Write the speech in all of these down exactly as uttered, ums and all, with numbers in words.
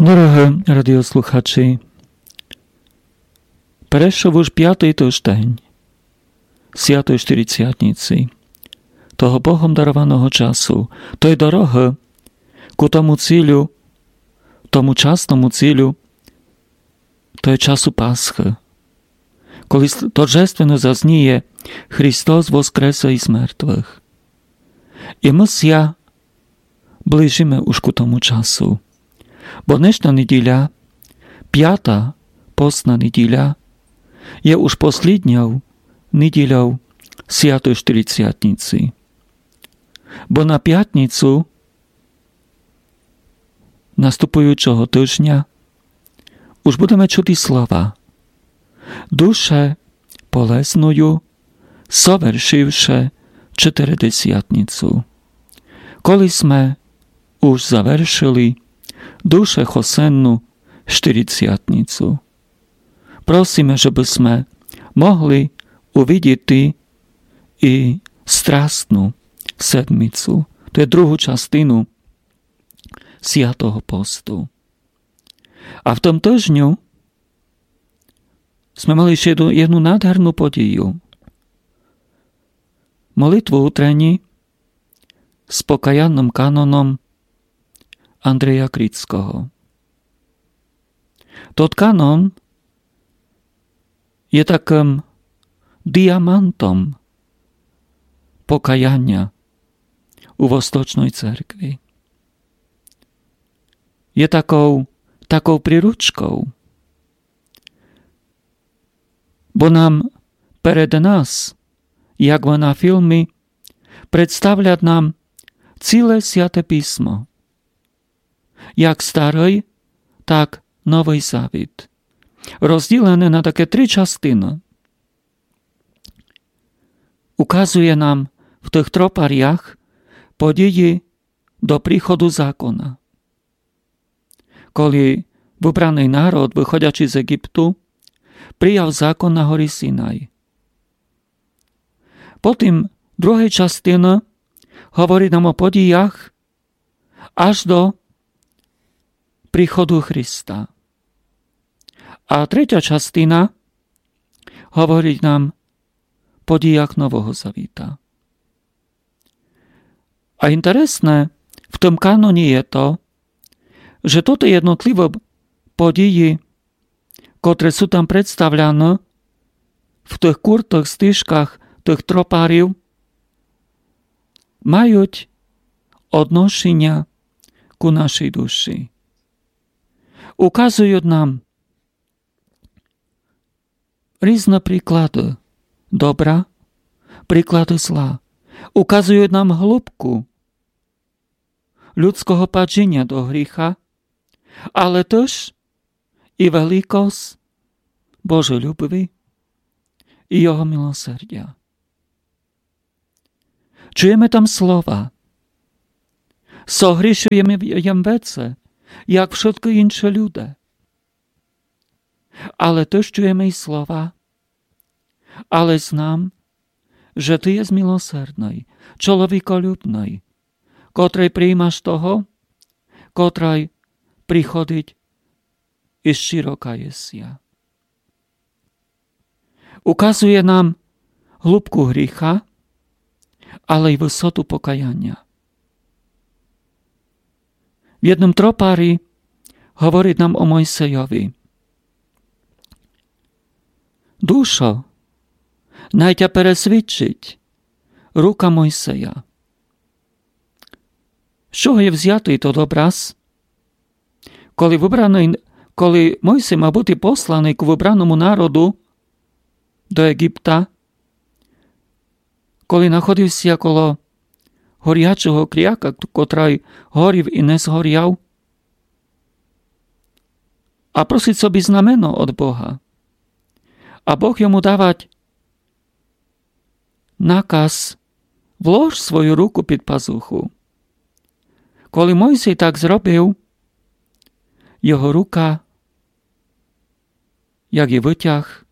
Дорогы радіослухачі, перейшов уж пятый тыждень Святой Штирицятниці, того Богом дарованого часу, той дорогы ку тому цілю, тому часному цілю, той часу Пасхы, коли с-, торжественно зазніє: Христос воскресе из мертвых. І мы ся ближиме уж ку тому часу. Бо днешня неділя, пята постна неділя, є уж послідньов неділяв Святой Штирицятниці. Бо на пятницю наступуючого тыжня уж будеме чути слова: Душе полезную, совершивше Чотиридесятницю. Коли сме уж завершили душехосенну Штирицятницю, просиме, жебы сме могли увидіти і Страстну седмицю, то є другу частину Святого посту. А в тым тыжню сме мали іщи єдну, єдну надгарну подію. Молитву утреню з покаянным каноном Андрея Крицкого. Тот канон є такым діамантом покаяня у Восточной Церкви. Є таков, таков приручков, бо нам перед нас, як бы на філмі, представлят нам ціле Святе Писмо, як Старый, так Новый Завіт, розділене на такы три частины. Указує нам в тых тропарях події до приходу закона, коли выбраный народ, выходячи з Єгипту, прияв закон на горі Синай. Потім другой частины говорит нам о подіях аж до приходу Христа. А третя частина говорит нам о подіях Нового Завіта. А інтересне в тым каноні є то, же тоты єднотлівы події, котры суть там представлены в тых куртых стишках тых тропарів, мають одношеня ку нашій душі. Указують нам різны приклады добра, приклады зла. Указують нам глубку людского падіня до гріха, але тыж і великость Божой любви і Його милосердя. Чуєме там слова: Согрішив єм, єм веце, як вшыткы інші люде. Але тыж чуєме і слова: Але знам, же Ты єс милосердный, чоловіколюбный, котрый приймаш того, котрый приходить из щиро каєся. Указує нам глубку гріха, але й высоту покаяня. В єдным тропарі говорить нам о Мойсейови: Душо, най тя пересвідчить рука Мойсея. З чого є взятый тот образ? Коли выбраный, коли Мойсей мав быти посланый ку выбраному народу до Єгипта, коли находив ся коло горячого кряка, котрый горів і не згоряв, а просить собі знамено од Бога. А Бог йому давать наказ: Влож свою руку під пазуху. Коли Мойсей так зробив, його рука, як і вытяг,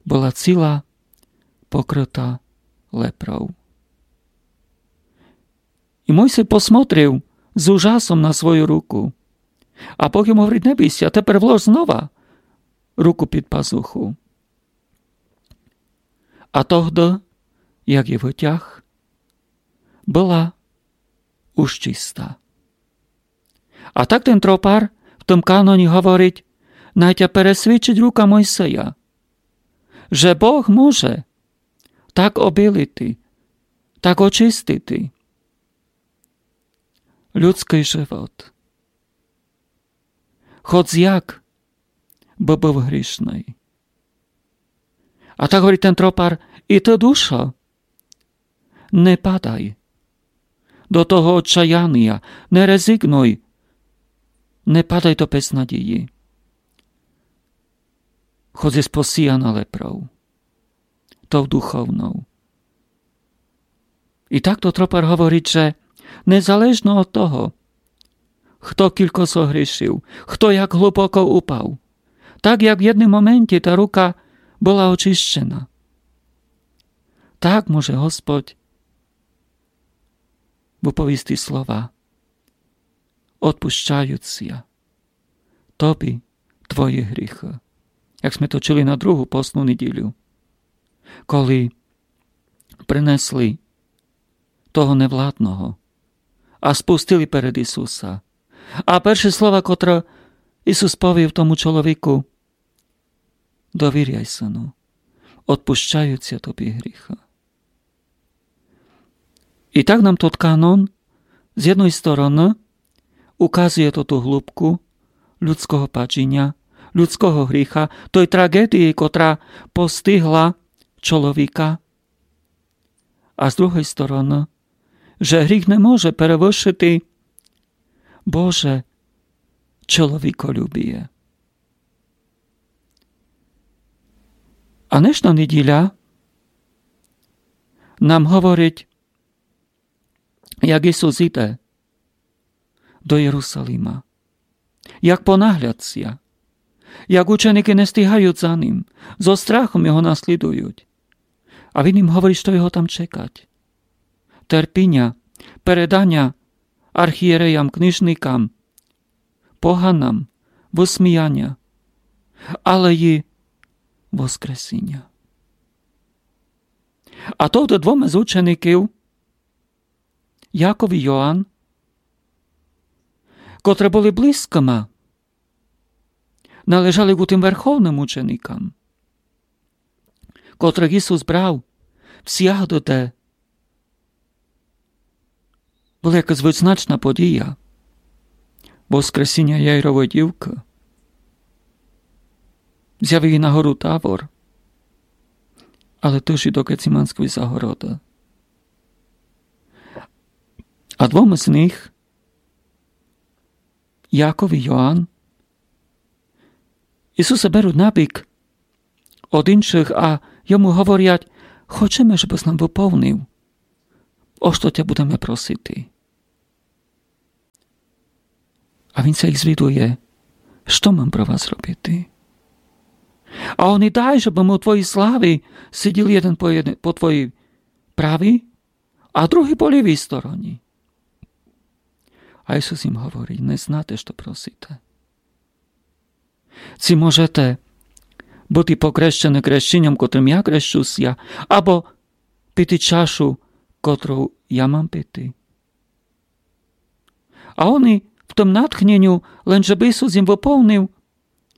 была ціла покрыта лепров. І Мойсей посмотрив з ужасом на свою руку. А Бог йому говорить: не бій ся, тепер влож знова руку під пазуху. А тогды, як ї вытяг, была уж чиста. А так тен тропар в тым каноні говорить: най тя пересвідчить рука Мойсея, же Бог може так обілити, так очистити людськый живот. Хоц як бы быв грішный. А так говорить тен тропар: і ты, душо, не падай до того отчаянія, не резигнуй, не падай до безнадії. Хоц єс посіяна лепров, тов духовнов. І так тот тропар говорить, же незалежно од того, хто кілько согрішив, хто як глубоко упав, так як в єдным моменті та рука была очищена, так може Господь выповісти слова: одпущають ся тобі твої гріхы. Як сьме то чули на другу постну неділю, коли принесли того невладного а спустили перед Ісуса. А перші слова, котры Ісус повів тому чоловіку: довіряй, сину, одпущають ся тобі гріхы. І так нам тот канон з єдной стороны указує тоту глубку людського падіня, людського гріха, той трагедії, котра постигла чоловіка. А з другой стороны, же гріх не може перевышити Боже чоловіколюбіє. А днешна неділя нам говорить, як Ісус іде до Єрусалима, як понаглядся, як ученикы не стигають за ним, зо страхом його наслідують. А він їм говорить, што його там чекать. Терпіня, переданя архієреям, книжникам, поганам, высміяня, але й воскресіня. А товды двома з учеників, Яков і Йоан, котры были близькыма, належали ку тым верховным ученикам, котрых Ісус брав всяды, де была якась визначна подія воскресіня Яйровой дівкы, зявив ся на гору Тавор, але тыж і до Гециманськой загороды. А двома з них, Яков і Йоан, Ісуса беруть набік од іншых а йому говорять: хочеме, жебыс нам выповнив, о што тя будеме просити. А він ся їх звідує: што мам про вас робити? А они: дай, жебы мы у твоїй славі сиділи єден по, єден по твоїй правій, а другый по лівій стороні. А Ісус їм говорить: не знате, што просите. Ци можете быти покрещены крещеньом, котрым я крещу ся, або пити чашу, котру я мам пити? А они в тым натхненю, лем жебы Ісус їм выповнив,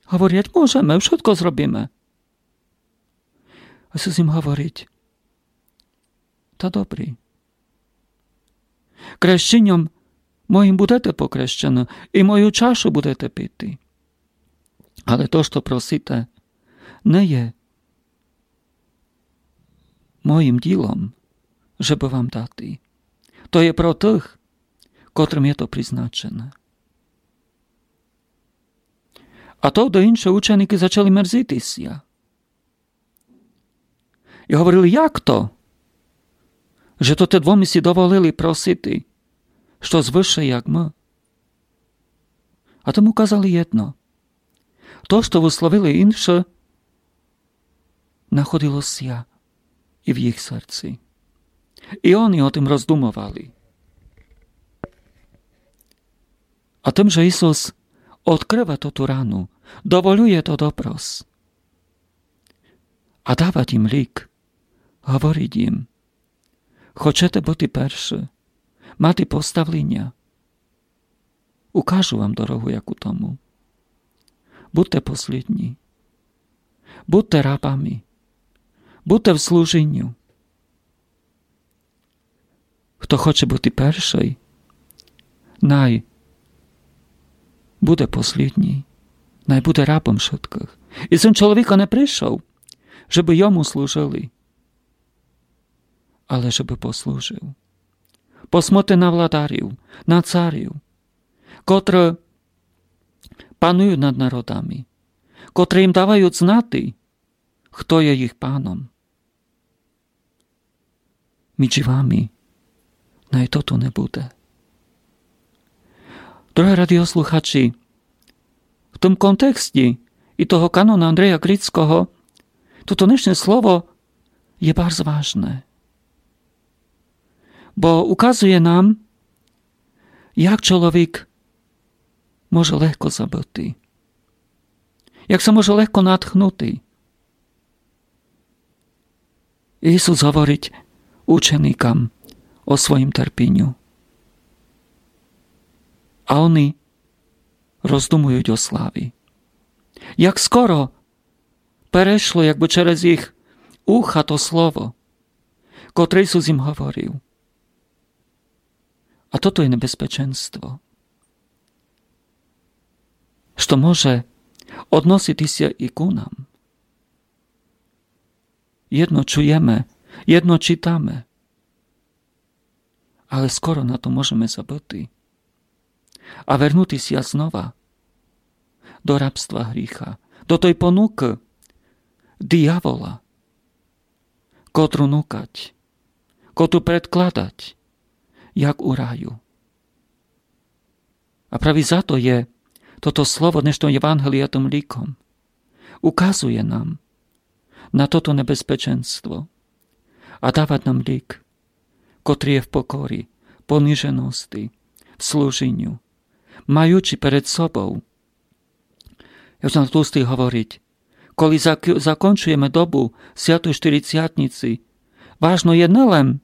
говорять: можеме, вшытко зробиме. А Ісус їм говорить: та добрі. Крещеньом моїм будете покрещены, і мою чашу будете пити. Але то, што просите, не є моїм ділом, жебы вам дати. То є про тых, котрым є то призначене. А товды інші ученикы зачали мерзити ся. І говорили: як то, же то те двома си доволили просити штось выше, як мы? А тому казали єдно: то, што высловили інші, находило ся і в їх серци. І они о тым роздумовали. А тым, же Ісус одкрыва тоту рану, доволює тот образ. А давать їм лїк, говорить їм: хочете быти першы, мати поставліня? Укажу вам дорогу, яку тому. Будте послїдні. Будте рабами. Будте в служіню. Хто хоче быти першый, най буде послїдні, най буде рабом вшыткых. І Сын чоловіка не пришов, жебы йому служыли, але жебы послужыв. Посмотрите на владарів, на царів, котры панують над народами, котры їм давають знати, хто є їх паном. Між вами най тото не буде. Дорогы радіослухачі, в тім контексті і того канона Андрея Крицького тото днешнє слово є барз важне. Бо указує нам, як чоловік може легко забыти, як ся може легко натхнути. Ісус говорить ученикам о своїм терпіню. А они роздумують о славі. Як скоро перешло, якбы через їх уха то слово, котре Ісус їм говорив. А тото є небезпеченство, што може односити ся і ку нам. Єдно чуєме, єдно читаме, але скоро на то можеме забыти а вернути ся знова до рабства гріха, до той понукы диявола, котру нукать, котру предкладать, як у раю. А праві за то є тото слово днешного Євангелія тым лїком. Указує нам на тото небезпеченство а давать нам лїк, котрий є в покорі, понижености, в служіню, маючи перед собов, як Іван Тлустый говорить, коли зак-, закончуєме добу Святої Штирицятниці, важно є не лем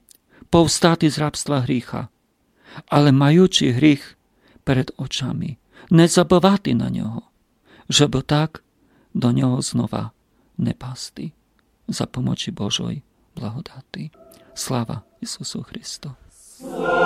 повстати з рабства гріха, але маючи гріх перед очами, не забывати на нього, жебы так до нього знова не пасти. За помочи Божой благодати. Слава Ісусу Христу!